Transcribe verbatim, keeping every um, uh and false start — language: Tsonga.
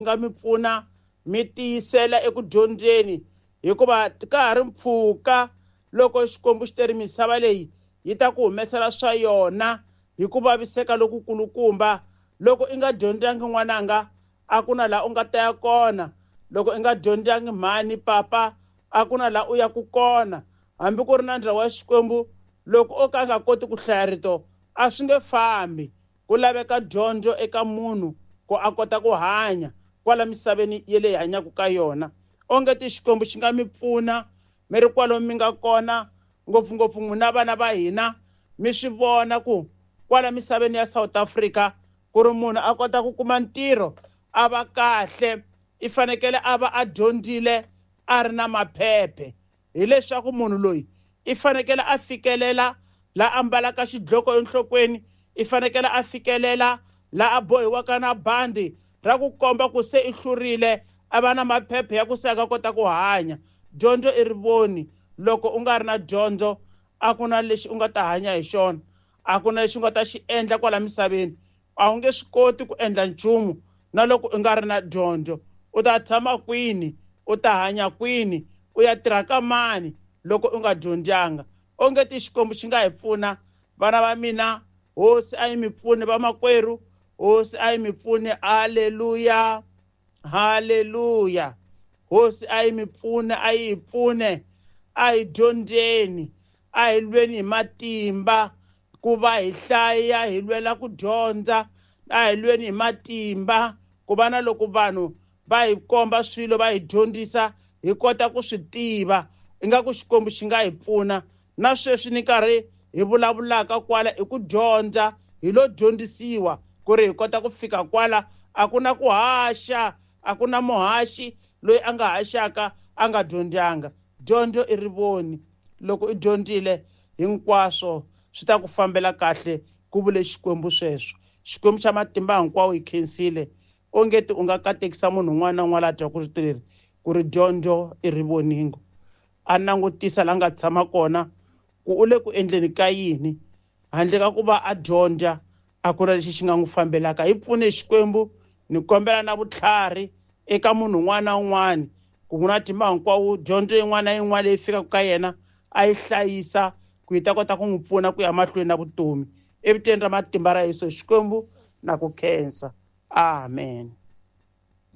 Nga mi pfuna mi tiyisela eku dyondzeni, hikuva ka ha ri mpfhuka loko Xikwembu xi teri misava leyi yi ta ku humesela swa yona hi ku vaviseka lokukulukumba. Loko i nga dyondzangi, n'wananga, a ku na laha u nga ta ya kona. Loko i nga dyondzangi, mhani, papa, a ku na laha u yaku kona. Hambi ku ri na ndza wa Xikwembu, loko o ka a nga koti ku hlaya rito, a swi nge fambi. Ku laveka dyondzo eka munhu ku a kota ku hanya kwala misaveni ye leyi hanyaka ka yona. Onge ti Xikwembu xi nga mi pfuna mi ri kwalomu mi nga kona, ngopfungopfu n'wina vana va hina. Mi swi vona ku kwala misaveni ya South Africa, ku ri munhu a kota ku kuma ntirho a va kahle, i fanekele a va a dyondzile, a ri na maphephe. Hileswaku munhu loyi i fanekele a fikelela la ambalaka xidloko enhlokweni, i fanekele a fikelela la a bohiwaka na bandi ra ku komba ku se i hlurile, a va na maphephe ya ku se a nga kota ku hanya. Dyondzo i rivoni. Loko u nga ri na dyondzo, a ku na lexi u nga ta hanya hi xona, a ku na lexi u nga ta xi endla kwala misaveni. A wu nge swi koti ku endla nchumu na loko u nga ri na dyondzo. U ta tshama kwini? U ta hanya kwini? U ya tirha ka mani loko u nga dyondzanga? Onge ti Xikwembu xi nga hi pfuna, vana va mina. Hosi a yi mi pfuni, vamakwerhu. Hosi a yi mi pfuni. Aleluya, haleluya. Hosi a yi mi pfune, a yi hi pfune. A hi dyondzeni, a hi lweni hi matimba ku va hi hlaya, hi lwela ku dyondza. A hi lweni hi matimba ku va na loko vanhu va hi komba swilo, va hi dyondzisa, hi kota ku swi tiva. Ingaku Xikwembu xi nga hi pfuna. Na sweswi ni karhi hi vulavulaka kwala i ku dyondza, hi lo dyondzisiwa ku ri hi kota ku fika kwala. A ku na ku haxa, a ku na muhaxi loyi a nga haxaka a nga dyondzanga. Dyondzo i rivoni. Loko i dyondzile, hinkwaswo swi ta ku fambela kahle, ku vule Xikwembu sweswo. Xikwembu xa matimba hinkwawo, hi khensile. Ongeti u nga katekisa munhu un'wana na un'wana la twaku rito leri, ku ri dyondzo i rivoningo. A langutisa la nga tshama kona ku u le ku endleni ka yini. Handle ka ku va a dyondza, a ku na lexi xi nga n'wi fambelaka. Hi pfune, Xikwembu. Ni kombela na vutlhari eka munhu un'wana na un'wana ku na matimba hinkwawo, dyondzo yin'wana na yin'wana leyi fikaka ka yena a yi hlayisa ku yi ta kota ku n'wi pfuna ku ya mahlweni na vutomi. Evitweni ra matimba ra Yesu, Xikwembu, na ku khensa. Amen.